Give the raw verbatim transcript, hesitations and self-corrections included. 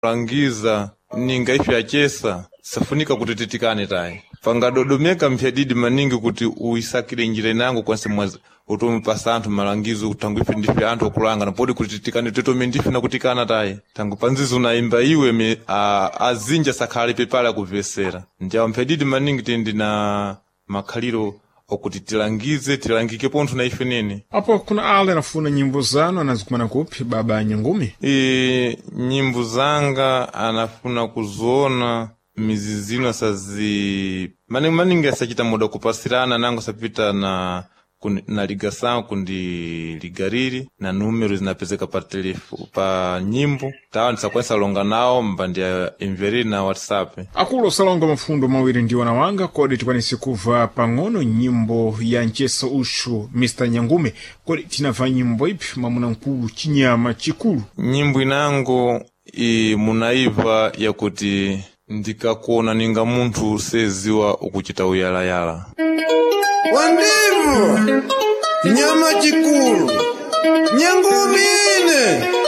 Langiza ninga ife achesa safunika kuti titikane tayi pangadodomeka mphyadidi maningi kuti uisakire njira inango kwanse mwazi utomupasa anthu malangizo kuti ife ndife anthu okulanga napodi kuti titikane titome ndife nakutikana tayi tangu panzizo unayimba iwe me, a, azinja sakhale pepale akuvesera ndiawo mphyadidi maningi tindi na makhaliro okuti tilangize tilangike pontho na ife nene Apo kuna ale anafuna nyimbo zanu anazikumana kupi baba Nyangumi? E, nyimbo zanga anafuna kuziona mizizino asazi maningi maningi asachita muda kupasirana nango sapita na kun- na ligação kundi ligariri na número zinapezeka pa telefo pa nyimbo tawa ndisakwanisa longa nawo mbandi ya imveriri na whatsapp Akulu osalonga mafundo mawiri ndi wana wanga kodi tikwanise kuva pang'ono nyimbo ya mcheso uxu Mr Nyangume kodi tinamva nyimbo ipi mwamuna mkulu chinyama chikulu nyimbo inango i munaiva yakuti ndikakuona ninga munthu seziwa ukuchita uyalayala Wandimu, nyama chikulu, nyangumi ine.